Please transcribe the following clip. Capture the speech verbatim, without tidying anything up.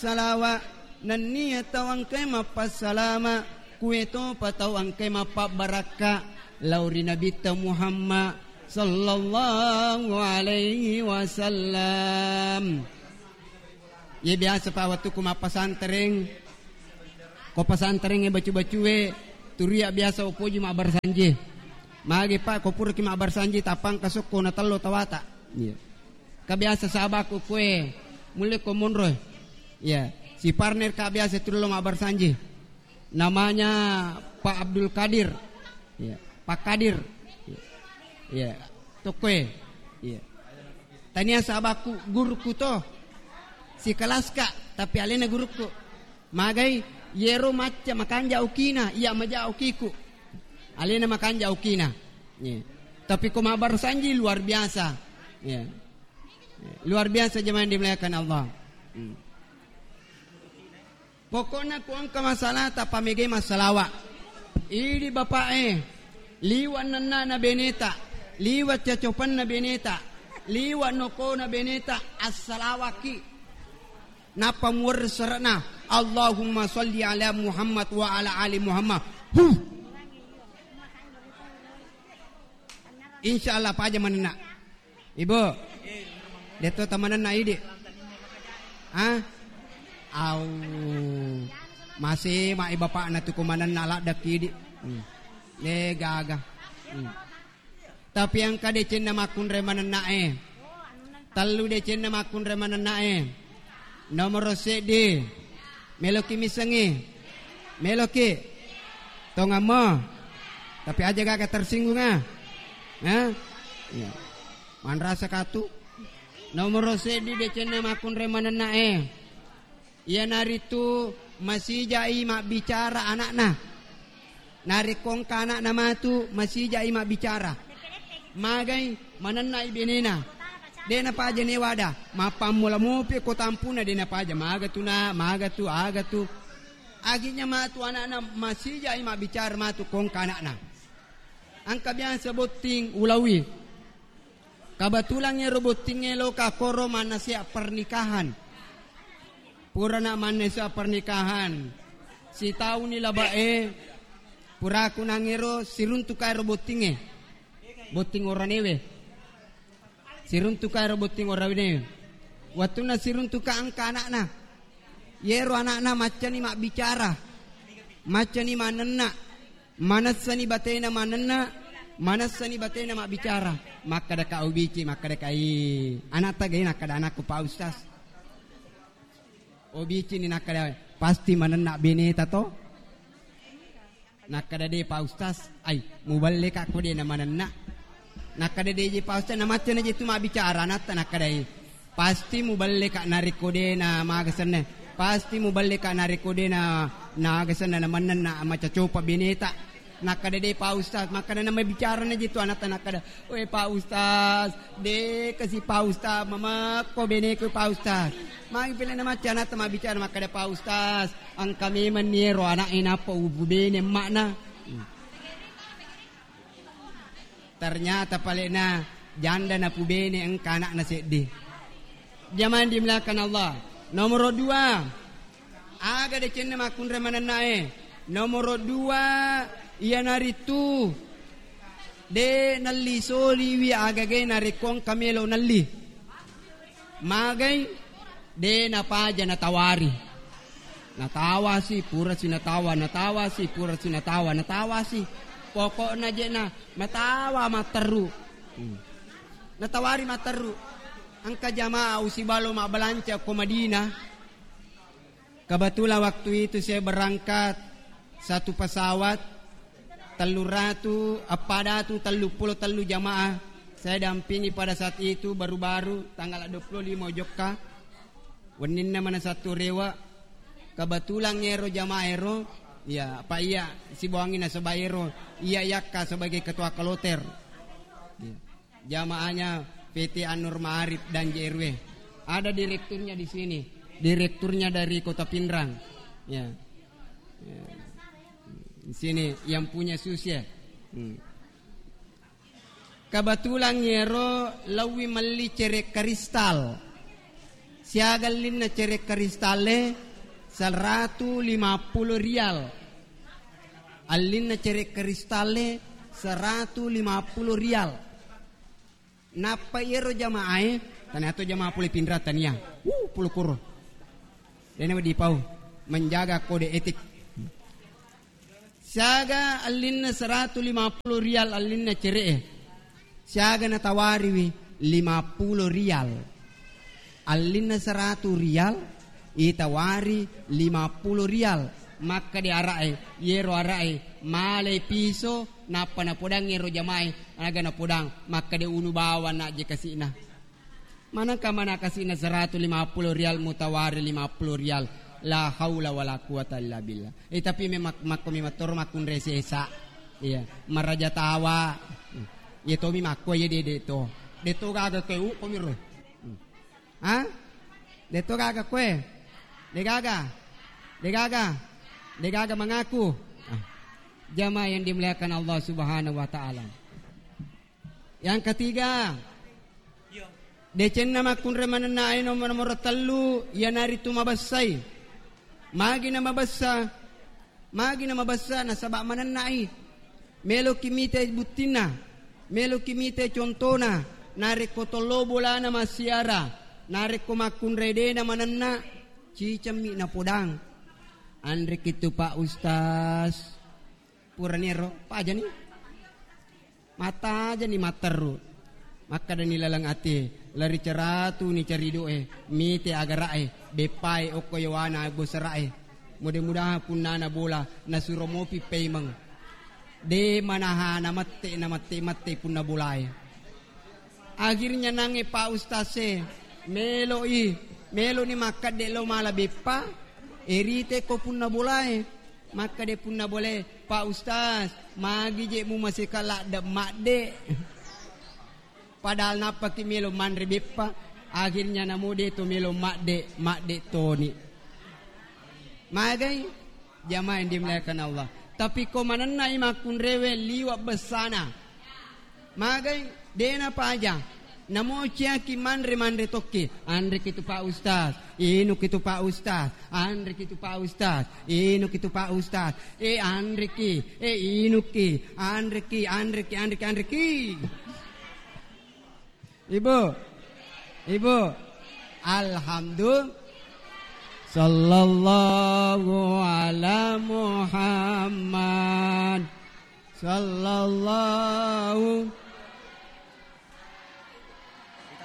Salawa, nennia tau engkae mappassalama, kuetopa tau engkae mappabbarakka lao ri Nabitta Muhammad sallallahu alaihi wasallam. Ye biasa pa wettukku mappasantereng, ko pasanterengnge bacu-bacue, turia biasa upoji mabbarsanji. Magi pa ko puraki mabbarsanji tapangka sokko na tello tawata. Iya. Ka biasa sahabatku kue, mulle ko monro. Iya, si partner ka biasa tullo mabbarsanji. Namanya Pak Abdul Kadir. Iya, Pak Kadir. Iya. Tokkoe. Iya. Tania sahabatku guruku to. Si kelas ka, tapi alena guruku. Magai, yero macca makanja okina, iya maja okiku. Alena makanja okina. Iya. Tapi ko mabbarsanji luar biasa. Iya. Luar biasa jemaah yang dimuliakan Allah. Hmm. Pokokna ku engka masalah tapamege massalawa. Idi bapa'e, liwa nennana beneta, liwa cacopanna beneta, liwa nokona beneta, assalawaki. Nappa muwerre sere'na, Allahumma sholli ala Muhammad wa ala ali Muhammad. Huh. Insya Allah paja manenna. Ibu, deto tamanenna idi. Ah? Au. Masih mai bapakna tu ko manenna ladda kidi. Hmm. Eh, gaga. Hmm. Tapi engka decenna makkunrai manennae. Tellu decenna makkunrai manennae. Nomoro seddi. Meloki missengi? Meloki? Tongammo? Tapi aja gaga tersinggung ah. Hah? Iya. Manrasa katu. Nomoro seddi decenna makkunrai manennae. Iyanaritu masijai mabbicara anakna. Narekko engka anakna matu, masijai mabbicara. Magai manennai benena. De napaja newada, mappammula mopi ko tampuna de napaja, maga tu na, maga tu, aga tu. Aginya matu anakna masijai mabbicara matu ko engka anakna. Engka biasa botting ulawi. Kebetulan ero bottingnge loka koro mannaseha pernikahan. Purana mannaseha pernikahan. Sitauni labae, puraku nangero siruntuka ero bottingnge. Botting oranewe. Siruntuka ero botting oranewe. Wattunna siruntuka engka anakna. Yero anakna maccani mabbicara. Maccani manenna. Manessani batena manenna, manessani batena mabbicara. Makkadaka ubici, makkadaka, "Ih, anatta gai?" Nakkada anakku, "Pak Ustaz." Ubicini nakkada, "Pasti manenna beneta to?" Nakkada, "De, Pak Ustaz." "Ai, muballeka ko de na manenna." Nakkada, "De je, Pak Ustaz, namacca na je tu mabbicara anatta?" Nakkada, "Ih." Pasti muballeka narekko de na maga senna. Pasti muballeka narekko de na, na aga senna, na mennenna macacopa beneta. Nakkada, "De, Pak Ustaz." Makkada na mabbicara na je tu anatta, nakkada, "We, Pak Ustaz, de kasi, Pak Ustaz, mamekko beneku, Pak Ustaz." Magi pele na macca anatta mabbicara, makkada, "Pak Ustaz, engka memang ni ero anak e nappa ubu bene emmakna." Hmm. Ternyata palena janda napubene engka anakna seddi. Jamaah dimuliakan Allah. Nomoro dua, aga decenna makkunrai manennae? Nomoro dua, iyanaritu de nelli soliwi agagai narekko engka melo nelli. Magai? De napaja natawari. Natawasi, purasi natawa, natawasi, purasi natawa, natawasi. Pokokna je na matawa matteru. Hmm. Natawari matteru. Engka jamaah usibalo mabbalanca ko Madinah. Kebetulan waktu itu saya berangkat satu pesawat, tellu ratu, eppa datu telluppulo tellu jamaah. Saya dampingi pada saat itu, baru-baru tanggal dua puluh lima jokka. Wenninna mana satu rewa. Kebetulan ero jamaah ero, ya, apa iya sibawangi nasaba ero, iya yakka sebagai ketua kloter. Ya. Jamaahnya P T An-Nur Ma'arif dan J R W. Ada direkturnya di sini. Direkturnya dari Kota Pinrang. Ya. Ya. Di sini yang punya sus ya. Hmm. Kebetulan ero lawi melli cere kristal. Siaga allinna cere' kristalle, seratu lima puluh rial. Allinna cere' kristalle, seratu lima puluh rial. Nappa iyaro jamaae, tania to jamaa pole Pinrang tania. Uh, polo koro. Dena wedding pau menjaga kode etik. Siaga allinna seratu lima puluh rial allinna cere'e. Siaga natawariwi lima puluh rial. Allinna seratu rial, itawari lima puluh rial. Makkeda ara'e, yero ara'e malai piso, nappa napodang ero jamae, aga napodang, makkeda unu bawang najje kasi'na. Manengka mana kasi'na seratu lima puluh rial mutawari lima puluh rial. La haula wala quwata illa billah. Eh, tapi memang makko mi mattoro makkunrai sesa. Iya, maraja tawa. Iya tomi makko iya de de to. De to gaga koe u komi ro. Ha? De to gaga koe. De gaga. De gaga. De gaga mengaku. Ah. Jamaah yang dimuliakan Allah Subhanahu wa taala. Yang ketiga, decenna makkunrai manennae nomor, nomor tellu, iyanaritu mabessai. Magi na mabessa? Magi na mabessa? Nasaba manennai. Meloki mite buttinna, meloki mite contona. Narekko tollo bolana massiara, narekko makkunrai dena manenna, cicemmi napodang. Anreki tu Pak Ustaz. Puraniero, pajani. Matajani matteru. Makkedani laleng atie, lari ceratu ni caridoe, mite agara'e, beppae okko yowana bosara'e. Mudah-mudahan punnana bola nasuro mopi peimeng. De manahana mette na mette-mette punna bolae. Akhirnya nangnge Pak Ustaz e, melo'i, melo'ni makkedde lo mala beppa, erite ko punna bolae. Makkeda punna bolae, "Pak Ustaz, magi je mumaseka ladde madde?" Padahal nappaki melo manre beppa, akhirnya namo de to melo madde, madde toni. Magai? Jamaah yang dimuliakan Allah. Tapi ko manennai makkunrewe liwa bessana. Magai? Dena paja. Namo ciaki manre-manre tokki. Anreki tu Pak Ustaz. Inuki tu Pak Ustaz. Anreki tu Pak Ustaz. Inuki tu Pak Ustaz. E anreki. E inuki. Anreki, anreki, anreki, anreki. Ibu. Ibu. Alhamdulillah. Sallallahu ala Muhammad. Sallallahu